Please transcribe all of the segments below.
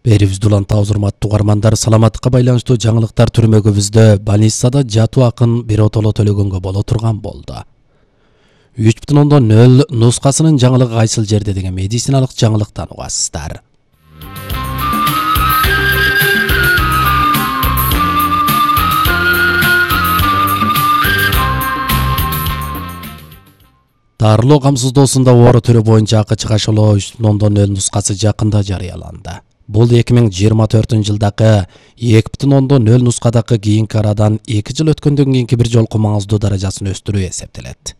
Берибизди улантабыз, урматтуу угармандар. Саламаттыкка байланыштуу жаңылыктар түрмөгүбүздө больницада жатуу акын биротоло төлөгөнгө боло турган болду. 3.0 нускасынын жаңылыгы кайсыл жерде деген медициналык жаңылыктан угасыздар. Дарылоо камсыздоосунда оору түрү боюнча акы чыгашылоо 3.0 нускасы жакында жарыяланды. Бул 2024-жылдагы 2.0 нускадагы кийинки арадан 2 жыл өткөндөн кийинки бир жолку маңыздуу даражасын өстүрүү эсептелет.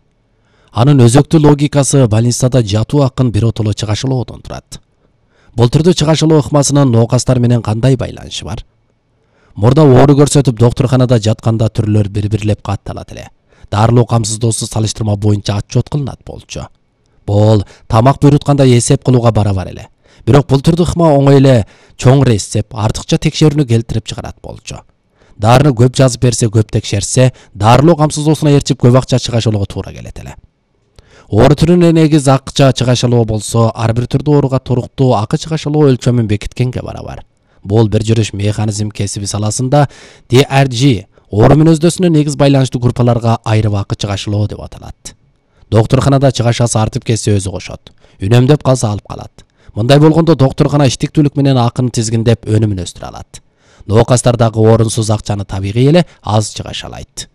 Анын өзөктүү логикасы больницада жатуу акын биротоло чыгашылоодон турат. Бул түрдүү чыгашылоо ыкмасынын ноокастар менен кандай байланышы бар? Мурда оору көрсөтүп доктурканада жатканда түрлөр бири-бирлеп катталат эле. Дарылоо камсыздоосу салыштырма боюнча отчет кылынат болчу. Бул тамак буйрутканда эсеп кылууга барабар эле. Бирок бул түрдүү ыкма оңой эле чоң эсеп, артыкча текшерүүнү келтирип чыгарат болчу. Дарыны көп жазып берсе, көп текшерсе, дарылоо камсыздоосуна ээрчип көп акча чыгашылоого туура келет эле. Оору түрүнө негиз акча чыгашылоо болсо, ар бир түрдүү ооруга туруктуу акы чыгашылоо өлчөмүн бекиткенге барабар. Бул бир жүрүш механизм кесиби саласында DRG оору мүнөздөсүнө негиз байланыштуу группаларга айрым акы чыгашылоо деп аталат. Доктурканада чыгашасы артып кетсе өзү кошот. Үнөмдөп калса алып калат. Мындай болгондо доктуркана иштиктүүлүк менен акын тизгиндеп өнүмүн өстүрө алат. Ноокастар дагы орунсуз акчаны табигый эле аз чыгаша алат.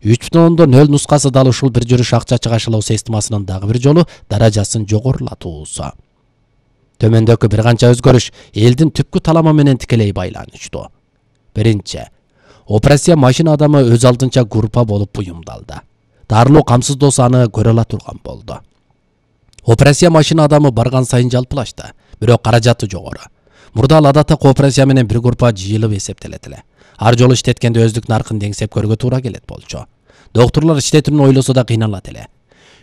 3.0 нускасы дал ушул бир жүрүш акча чыгашылоо системасынын дагы бир жолу даражасын жогорулатуусу. Төмөндөгү бир канча өзгөрүш элдин түпкү таламы менен тикелей байланыштуу. Биринчи, операция машина адамы өз алдынча группа болуп буюмдалды. Дарылоо камсыздоосу аны көрө ала турган болду. Операция машина адамы барган сайын жалпылашты, бирок каражаты жогору. Мурда ал адатта операция менен бир группа жыйылып эсептелет эле. Ар жолу иштеткенде өздүк наркын деңсеп көргө туура келет болчу. Доктурлар иштетүүнү ойлосо да кыйналат эле.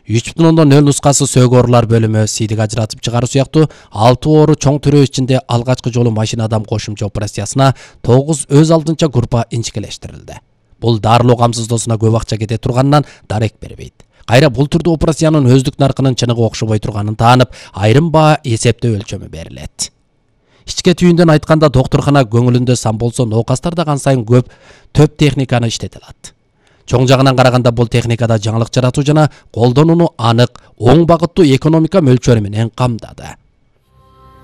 3.0 нускасы сөөгү оорулар бөлүмү сийдик ажыратып чыгаруу сыяктуу 6 оору чоң түрөө ичинде алгачкы жолу машина адам кошумча операциясына 9 өз алдынча группа инчикелештирилди. Бул дарылоо камсыздоосуна көп акча кете турганынан дарек бербейт. Кайра бул түрдүү операциянын өздүк наркынын чыныгы окшобой турганын таанып, айрым баа эсептөө өлчөмү берилет. Ичке түйүндөн айтканда доктуркана көңүлүндө сан болсо, ноокастар да кан сайын көп төп техниканы иштете алат. Чоң жагынан караганда бул техникада жаңылык жаратуу жана колдонууну анык, оң багыттуу экономика мөлчөрү менен камдады.